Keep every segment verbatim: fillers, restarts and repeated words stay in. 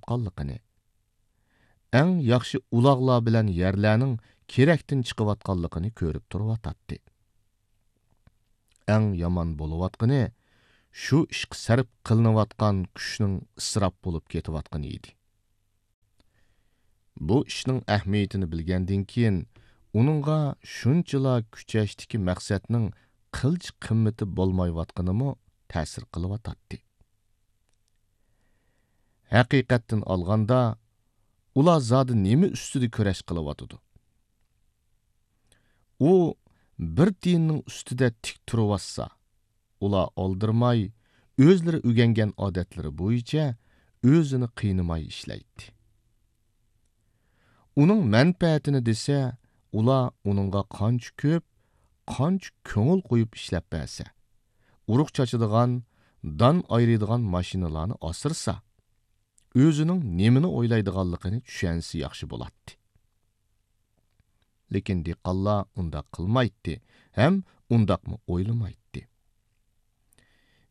چىققانلىقىنى، ئەڭ ياخشى ئۇلاغلار بىلەن يەرلەرنىڭ كېرەكتىن چىقىۋاتقانلىقىنى كۆرۈپ تۇرۇۋاتاتتى. ئەڭ يامان بولۇۋاتقىنى، شۇ ئىشقا سەرپ قىلىنىۋاتقان كۈچنىڭ ئىسراپ بولۇپ كېتىۋاتقىنى ئىدى. بۇ ئىشنىڭ ئەھمىيىتىنى بىلگەندىن كېيىن، ئۇنىڭغا شۇنچىلا كۈچەشتىكى مەقسەتنىڭ قىلچە قىممىتى بولمايۋاتقىنىمۇ تەسىر قىلىۋاتاتتى. ھەقىقەتتىن ئالغاندا، ئۇلار زادى نېمە ئۈستىدە كۈرەش قىلىۋاتىدۇ؟ ئۇ بىر تىيىننىڭ ئۈستىدە تىك تۇرۇۋاتسا، ئۇلار ئالدىرىماي، ئۆزلىرى ئۆگەنگەن ئادەتلىرى بويىچە ئۆزىنى قىينىماي ئىشلەيتتى. ئۇنىڭ مەنپەئەتىنى دېسە، ئۇلار ئۇنىڭغا قانچە كۆپ، قانچە كۆڭۈل قويۇپ ئىشلەپ بەرسە، ئۇرۇق چاچىدىغان، دان ئايرىيدىغان ماشىنىلارنى ئاسرىسا، ئۆزىنىڭ نېمىنى ئويلايدىغانلىقىنى چۈشەنسە ياخشى بولاتتى. لېكىن دېھقانلار ئۇنداق قىلمايتتى ھەم ئۇنداقمۇ ئويلىمايتتى.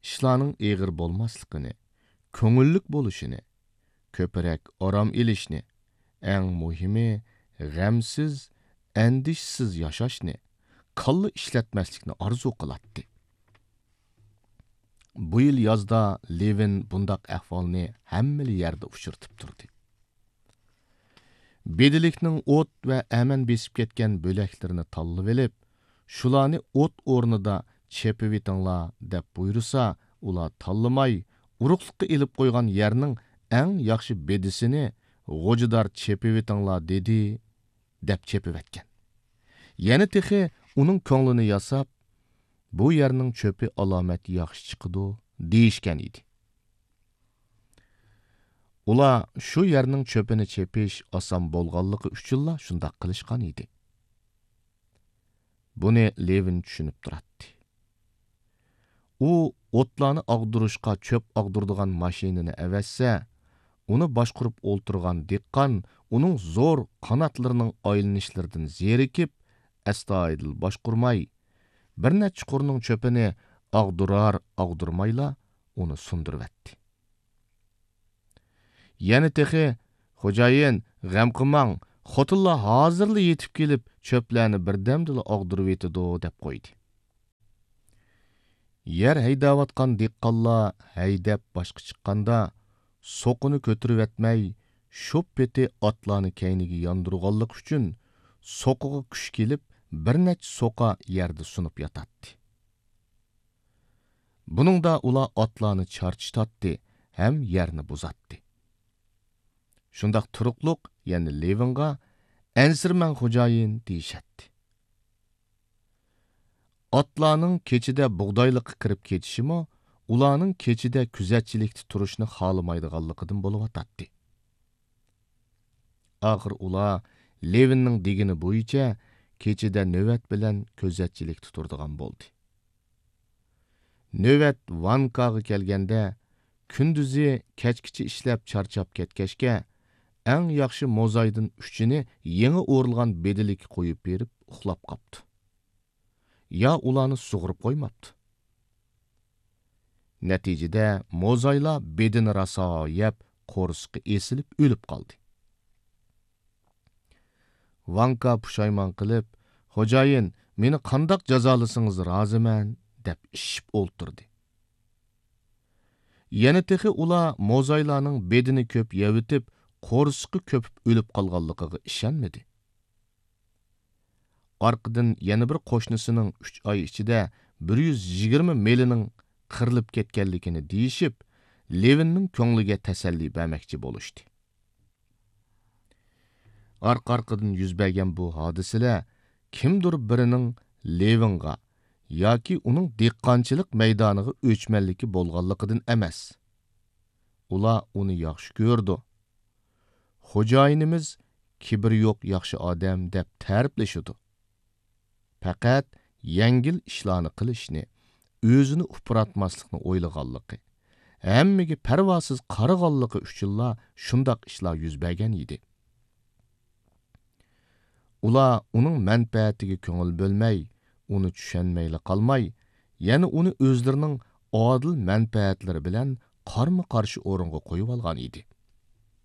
ئىشلارنىڭ ئېغىر بولماسلىقىنى، كۆڭۈللۈك بولۇشىنى، كۆپرەك ئارام ئېلىشنى، ئەڭ مۇھىمى، غەمسىز، ئەندىشىسىز ياشاشنى، كاللا ئىشلەتمەسلىكنى ئارزۇ قىلاتتى. بۇ يىل يازدا لېۋىن بۇنداق ئەھۋالنى ھەممىلا يەردە ئۇچرىتىپ تۇردى. بېدىلىكنىڭ ئوت ۋە ئەمەن بېسىپ كەتكەن بۆلەكلىرىنى تاللىۋېلىپ، شۇلارنى ئوت ئورنىدا چېپىۋېتىڭلار دەپ بۇيرۇسا، ئۇلار تاللىماي، ئۇرۇقلۇققا ئېلىپ قويغان يەرنىڭ ئەڭ ياخشى بېدىسىنى «غوجىدار چېپىۋېتىڭلار» دېدى، دەپ چېپىۋەتكەن. يەنە تېخى ئۇنىڭ كۆڭلىنى ياساپ، «بۇ يەرنىڭ چۆپى ئالامەت ياخشى چىقىدۇ» دېيىشكەن ئىدى. ئۇلار شۇ يەرنىڭ چۆپىنى چېپىش ئاسان بولغانلىقى ئۈچۈنلا شۇنداق قىلىشقان ئىدى. بۇنى لېۋىن چۈشىنىپ تۇراتتى. ئۇ ئوتلارنى ئاغدۇرۇشقا چۆپ ئاغدۇرىدىغان ماشىنىنى ئەۋەتسە، ئۇنى باشقۇرۇپ ئولتۇرغان دېھقان ئۇنىڭ زور قاناتلىرىنىڭ ئايلىنىشلىرىدىن زېرىكىپ، ئەستايىدىل باشقۇرماي، بىر نەچچە قۇرنىڭ چۆپىنى ئاغدۇرار-ئاغدۇرمايلا ئۇنى سۇندۇرۇۋەتتى. يەنە تېخى، «خوجايىن، غەم قىلماڭ، خوتۇنلار ھازىرلا يېتىپ كېلىپ، چۆپلەرنى بىردەمدىلا ئاغدۇرۇۋېتىدۇ» دەپ قويدى. يەر ھەيدەۋاتقان دېھقانلار ھەيدەپ باشقا چىققاندا، سوقىنى كۆتۈرۈۋەتمەي، شۇ پېتى ئاتلارنى كەينىگە ياندۇرغانلىقى ئۈچۈن، سوقىغا كۈچ كېلىپ، بىر نەچچە سوقا يەردە سۇنۇپ ياتاتتى. بۇنىڭدا ئۇلار ئاتلارنى چارچىتاتتى ھەم يەرنى بۇزاتتى. شۇنداق تۇرۇقلۇق يەنە لېۋىنغا، «ئەنسىرىمەڭ، خوجايىن» دېيىشەتتى. ئاتلارنىڭ كېچىدە بۇغدايلىققا كىرىپ كېتىشىمۇ ئۇلارنىڭ كېچىدە كۆزەتچىلىكتە تۇرۇشنى خالىمايدىغانلىقىدىن بولۇۋاتاتتى. ئاخىر ئۇلار لېۋىننىڭ دېگىنى بويىچە كېچىدە نۆۋەت بىلەن كۆزەتچىلىكتە تۇرىدىغان بولدى. نۆۋەت ۋانكاغا كەلگەندە، كۈندۈزى كەچكىچە ئىشلەپ چارچاپ كەتكەچكە، ئەڭ ياخشى موزايدىن ئۈچىنى يېڭى ئورۇلغان بېدىلىككە قويۇپ بېرىپ ئۇخلاپ قاپتۇ. يا ئۇلارنى سۇغۇرۇپ قويماپتۇ. نەتىجىدە موزايلار بېدىنى راسا يەپ، قورسىقى ئېسىلىپ ئۆلۈپ قالدى. ۋانكا پۇشايمان قىلىپ، «خوجايىن، مېنى قانداق جازالىسىڭىز رازىمەن» دەپ ئىششىپ ئولتۇردى. يەنە تېخى ئۇلار موزايلارنىڭ بېدىنى كۆپ يەۋېتىپ، قورسىقى كۆپۈپ ئۆلۈپ قالغانلىقىغا ئىشەنمىدى. ئارقىدىن يەنە بىر قوشنىسىنىڭ ئۈچ ئاي ئىچىدە بىر يۈز يىگىرمە مېلىنىڭ قىرىلىپ كەتكەنلىكىنى دېيىشىپ، لېۋىننىڭ كۆڭلىگە تەسەللى بەرمەكچى بولۇشتى. ئارقا-ئارقىدىن يۈز بەرگەن بۇ ھادىسىلەر كىمدۇر بىرىنىڭ لېۋىنغا ياكى ئۇنىڭ دېھقانچىلىق مەيدانىغا ئۆچمەنلىكى بولغانلىقىدىن ئەمەس. ئۇلار ئۇنى ياخشى كۆرىدۇ. «خوجايىنىمىز كىبىرى يوق ياخشى ئادەم» دەپ تەرىپلىشىدۇ. پەقەت يەڭگىل ئىشلارنى قىلىشنى، ئۆزىنى ئۇپراتماسلىقنى ئويلىغانلىقى، ھەممىگە پەرۋاسىز قارىغانلىقى ئۈچۈنلا شۇنداق ئىشلار يۈز بەرگەن ئىدى. ئۇلار ئۇنىڭ مەنپەئەتىگە كۆڭۈل بۆلمەي، ئۇنى چۈشەنمەيلا قالماي، يەنە ئۇنى ئۆزلىرىنىڭ ئادىل مەنپەئەتلىرى بىلەن قارمۇ-قارشى ئورۇنغا قويۇۋالغان ئىدى.